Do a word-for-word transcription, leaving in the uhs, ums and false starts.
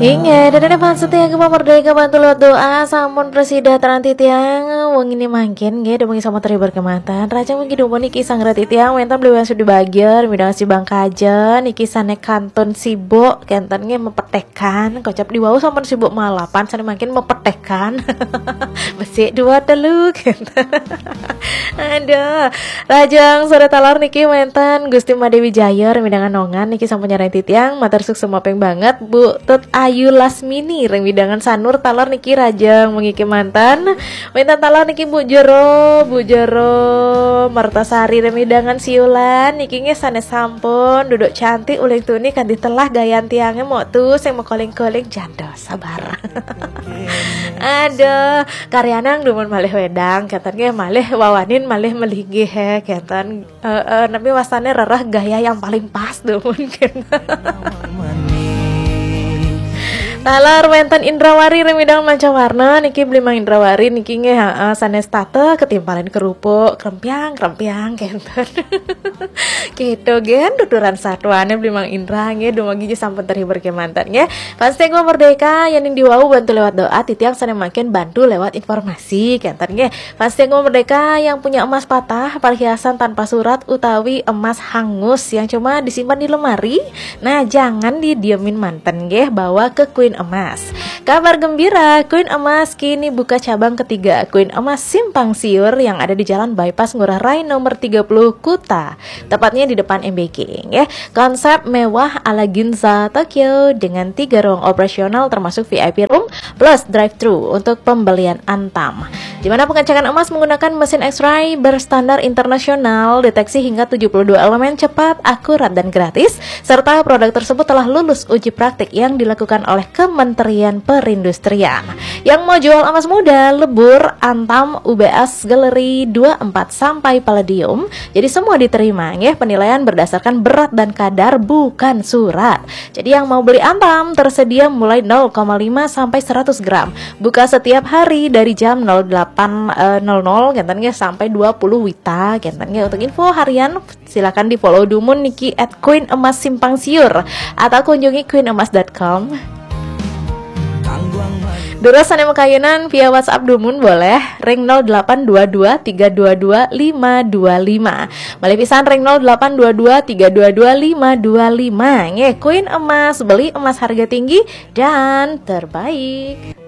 Inggih, dan ada fans setia Gema Merdeka bantu lewat doa sampun prasida titiang wengi mangkin nggih, dumugi sampun terhibur kemanten. Rajang wengi dumun niki sang rati tiang wénten beli Sudi Bagja, midang si Bang Kajen, niki sané kantun sibuk, kénten nggih mepetekan, kocap diwau sampun sibuk malapan, sané mangkin mepetekan. Besik dua telu, kénten. Aduh, rajang sore talar niki wénten Gusti Made Wijaya, midang Nongan niki sampun nyarengin titiang, matur suksma banget Bu Tut Ayu Lasmini, reng midang Sanur talar niki rajang wengi kemanten. Wénten talar niki Bu Jero, Bu Jero Mertasari, reng midang Siulan niki nggih sané sampun duduk cantik uling tuni kanthi telah gayan tiangé mok tu sing mekoling-koling jando sabar. Aduh, karyanang dumun malih wédang, kénten nggih malih wawanin malih melinggih, eh, kénten. Eh, eh, napi wastané rereh gaya yang paling pas dumun, kénten. Talar wénten Indrawari reng midang Manca Warna niki beli Mang Indrawari niki nggih, heeh, sanés tata ketimpalin kerupuk, krempiang, krempiang, kénten. Gitu, gén tuturan satuané beli Mang Indra nggih, dumugi sampun terhibur kemanten nggih. Fans Gema Merdeka, yéning diwau bantu lewat doa, titiang sané mangkin bantu lewat informasi, kénten nggih. Fans Gema Merdeka yang punya emas patah, perhiasan tanpa surat utawi emas hangus yang cuma disimpan di lemari, nah, jangan didiemin manten nggih, bawa ke Queen Emas. Kabar gembira, Queen Emas kini buka cabang ketiga, Queen Emas Simpang Siur yang ada di Jalan Bypass Ngurah Rai nomor tiga puluh, Kuta. Tepatnya di depan M B G, nggih. Konsep mewah ala Ginza Tokyo dengan tiga ruang operasional termasuk V I P room plus drive-thru untuk pembelian Antam. Di mana pengecekan emas menggunakan mesin X-ray berstandar internasional, deteksi hingga tujuh puluh dua elemen cepat, akurat dan gratis, serta produk tersebut telah lulus uji praktik yang dilakukan oleh Kementerian Perindustrian. Yang mau jual emas muda, lebur, Antam, U B S, Galeri dua empat sampai Palladium. Jadi semua diterima, nggih, penilaian berdasarkan berat dan kadar, bukan surat. Jadi yang mau beli Antam tersedia mulai nol koma lima sampai seratus gram. Buka setiap hari dari jam nol delapan, eh, nol nol, kénten nggih, sampai dua puluh wita, kénten nggih. Untuk info harian, silakan di-follow dumun niki at Queen Emas Simpang Siur atau kunjungi queen emas dot com. Durus sané makayunan via WhatsApp dumun boleh, ring nol delapan dua dua tiga dua dua lima dua lima. Malih pisan, ring nol delapan dua dua tiga dua dua lima dua lima. Nggih, Queen Emas, beli emas harga tinggi dan terbaik.